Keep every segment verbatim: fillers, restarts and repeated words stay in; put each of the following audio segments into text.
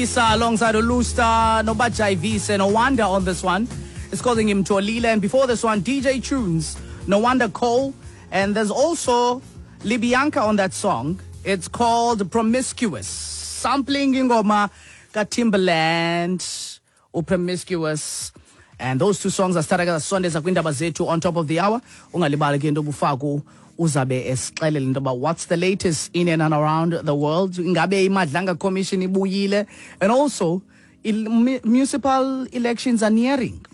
Isa alongside Olusta, Nobajaivise, No Wonder on this one. It's calling him Tolile. And before this one, D J Tunes, No Wonder Cole. And there's also Libianca on that song. It's called Promiscuous. Sampling ingoma ka Timbaland, or Promiscuous. And those two songs are starting at Sundays akwindaba zethu on top of the hour. Ungalibali ke into obufaku uzabe esixelela into about what's the latest in and around the world. Ingabe iMadlanga Commission ibuyile, and also il-, municipal elections are nearing.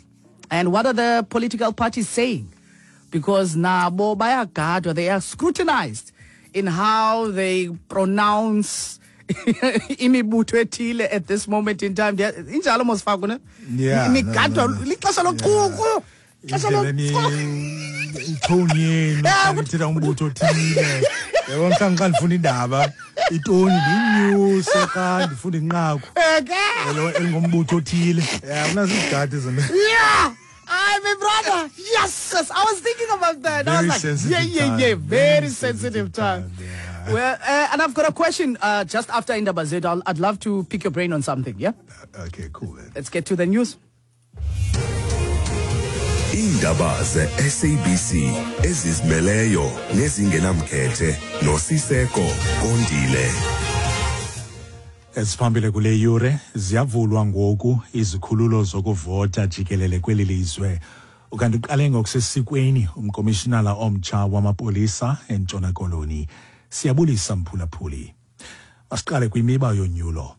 And what are the political parties saying? Because nabo bayagadwa, they are scrutinized in how they pronounce imibutho ethile at this moment in time. Injalo mos Faku, ne? Yeah, Imigadwa, no, no, no. lixesha lochuku. Ixesha Indlela lochuku. Itoni yenu, Yeah, xa nithetha umbutho othile. Yabo, mhlawumbi xa ndifunda indaba, itoni ndiyinyuse xa ndifunda inqaku. Eke. Elo elingumbutho othile. Yeah, unazo izigadi zona. Yeah. I, my brother, yes, yes, I was thinking about that. I Very was like, sensitive yeah, yeah, time. yeah, very, Very sensitive sensitive time. time, yeah. Well, uh, and I've got a question, uh, just after Indaba Zethu. I'll, I'd love to pick your brain on something, yeah? Uh, okay, cool, man. Let's get to the news. Indaba ze S A B C ezizimeleyo nezingenamkhethe noSiseko Kondile. Esiphambili kule yure ziyavulwa ngoku izikhululo zokuvota jikelele kweli lizwe. Ukanti uqale ngokusesikweni umkomishinala omtsha wamapolisa eNtshona Koloni. Siyabulisa mphulaphuli. Masiqale kwimiba yonyulo.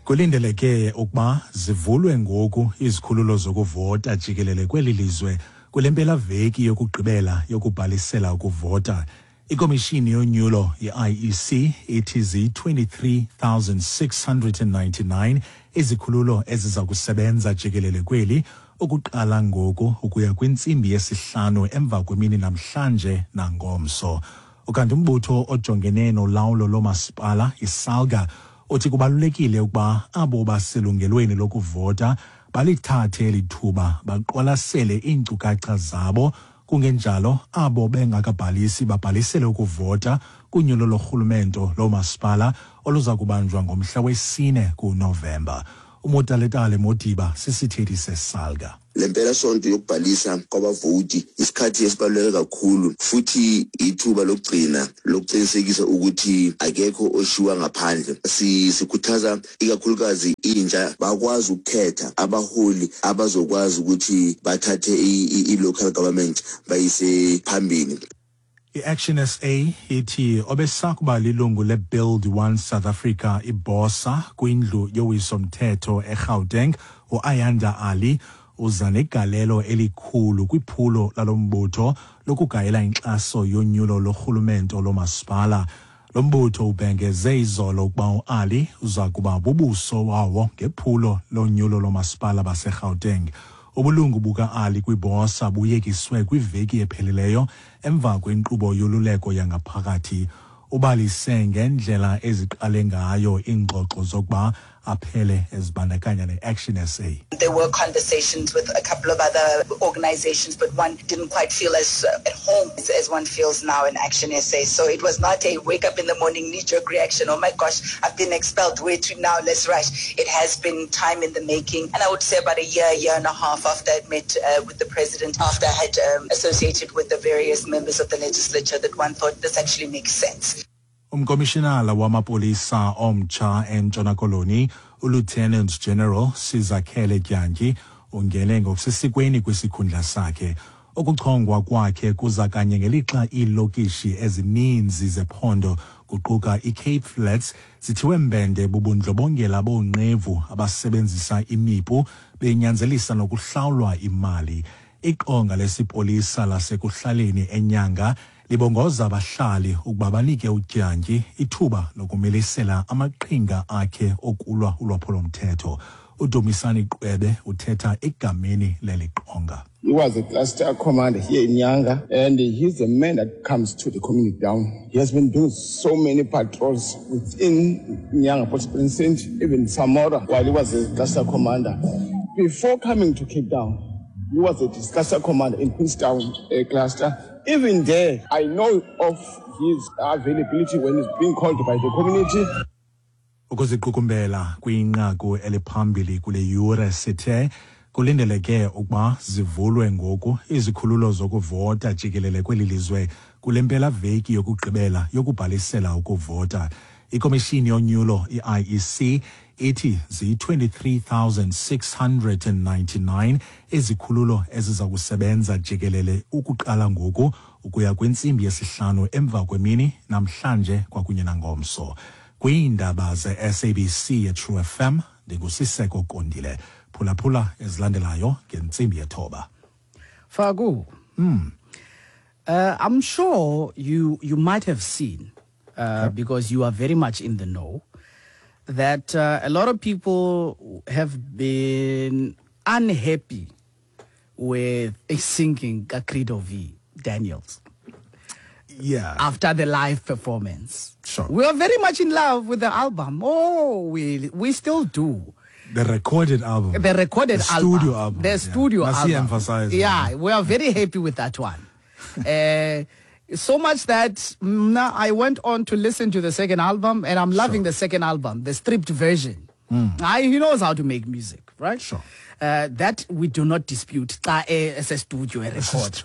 Kulindeleke ukuba zivulwe ngoku izikhululo zokuvota jikelele kweli lizwe kule mpelaveki yokugqibela yokubhalisela ukuvota. Ikomishini yonyulo ye-I E C ithi ziyi-twenty-three thousand six hundred and ninety-nine izikhululo eziza kusebenza jikelele kweli ukuqala ngoku ukuya kwintsimbi yesihlanu emva kwemini namhlanje nangomso. Ukanti umbutho ojongene nolawulo lomasipala iSALGA uthi kubalulekile ukuba abo baselungelweni lokuvota balithathe eli thuba baqwalasele iinkcukacha zabo, kungenjalo abo bengakabhalisi babhalisele ukuvota kunyulo lorhulumento lomasipala oluza kubanjwa ngomhla wesine kuNovemba. UMotaletale Modiba sisithethi seSALGA. Le mpelasonto yokubhalisa kwabavoti isikhathi esibaluleke kakhulu futhi ithuba lokugcina lokuqinisekisa ukuthi akekho oshiwa ngaphandle. Si-, sikhuthaza ikakhulukazi intsha bakwazi ukukhetha abaholi abazokwazi ukuthi bathathe i-, i-, i-local government bayise phambili. I-Action S A ithi obesakuba lilungu le-Build One South Africa iBOSA kwindlu yowiso-mthetho eGauteng uAyanda Ali uza negalelo elikhulu kwiphulo lalo mbutho lokugayela inkxaso yonyulo lorhulumento lomasipala. Lo mbutho ubhengeze izolo ukuba uAli uza kuba bubuso wawo ngephulo lonyulo lomasipala baseGauteng. Ubulungu buka-Ali kwiBOSA buyekiswe kwiveki ephelileyo emva kwenkqubo yoluleko yangaphakathi. Ubalise ngendlela eziqale ngayo iingxoxo zokuba aphele ezibandakanya ne-Action S A. There were conversations with a couple of other organizations, but one didn't quite feel as, uh, at home as, as one feels now in Action S A. So it was not a wake up in the morning knee-jerk reaction, oh my gosh, I've been expelled, where to now, let's rush. It has been time in the making. And I would say about a year, year and a half after I'd met, uh, with the president, after I had, um, associated with the various members of the legislature, that one thought this actually makes sense. Umkomishinala wamapolisa omtsha eNtshona Koloni, uLieutenant General Sizakhele Dyantyi, ungene ngokusesikweni kwisikhundla sakhe. Ukuchongwa kwakhe kuza kanye ngelixa iilokishi ezininzi zephondo kuquka iCape Flats zithiwe mbende bubundlobongela boonqevu abasebenzisa imipu benyanzelisa nokuhlawulwa imali. Iqonga lesipolisa lasekuhlaleni eNyanga libongoza abahlali ukuba banike uDyantyi ithuba lokumilisela amaqhinga akhe okulwa ulwaphulomthetho. uDumisani Qwebe uthetha egameni leli qonga. He was a cluster commander here in Nyanga, and he's the man that comes to the community down. He has been doing so many patrols within Nyanga Police Precinct, even Samora, while he was a cluster commander. Before coming to Cape Town, he was a cluster commander in Queenstown, uh, cluster. Even there, I know of his availability when he's being called by the community. Ukuziqukumbela kwinqaku eliphambili kule yure sithe kulindeleke ukuba zivulwe ngoku izikhululo zokuvota jikelele kweli lizwe kule mpelaveki yokugqibela yokubhalisela ukuvota. Ikomishini yonyulo i I E C ithi ziyi-twenty-three thousand six hundred ninety-nine izikhululo eziza kusebenza jikelele ukuqala ngoku ukuya kwintsimbi yesihlanu emva kwemini namhlanje kwakunye nangomso. Kwiindaba ze-S A B C ye-True F M ndinguSiseko Kondile. Phulaphula ezilandelayo ngentsimbi yethoba. Faku, mm. uh, I'm sure you, you might have seen, uh, okay. because you are very much in the know, that uh, a lot of people have been unhappy with a singing Credo V Daniels. Yeah. After the live performance. Sure. We are very much in love with the album. Oh, we we still do. The recorded album. The recorded the studio album. album. The yeah. studio Must album. Emphasize. Yeah, we are very happy with that one. uh, so much that now I went on to listen to the second album, and I'm loving sure. the second album, the stripped version. Mm. I, he knows how to make music, right? Sure. Uh, that we do not dispute. As a studio record.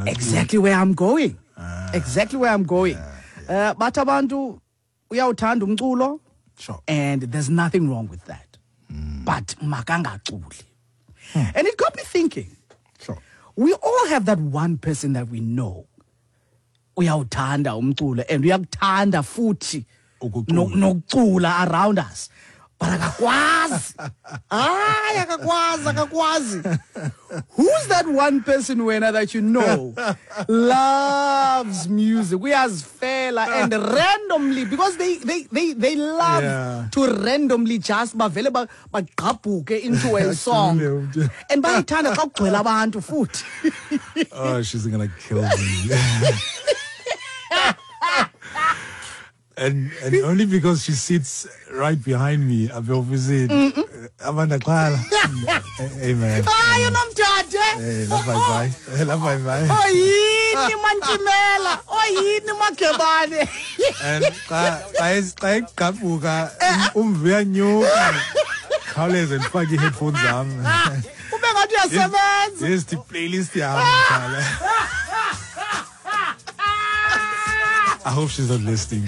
Exactly where I'm going. Ah, exactly where I'm going. Yeah, yeah. Uh, but abantu uyawuthanda umculo. Sure. And there's nothing wrong with that. Mm. But makangaculi. Hmm. And it got me thinking. Sure. We all have that one person that we know. Uyawuthanda umculo and uyakuthanda futhi nokucula around us. But akakwazi. Hayi akakwazi, akakwazi. Who's that one person wena that you know loves music? Uyazifela and randomly, because they they they they love yeah. to randomly just bavele bagqabhuke into a song. And bayithanda xa kugcwele abantu futhi. Oh, she's gonna kill me. And and only because she sits right behind me, I've obviously Amanda Clara. Amen. Hayi unomthathe. Hey, love bye bye. Love bye bye. Oyini mantimela, oyini magebane. And xa xa igqabhuka umve uyanyuka. Khawuleze ndifake ii-headphones zam. Ube ngathi uyasebenza. Yes, the playlist yam. I hope she's not listening.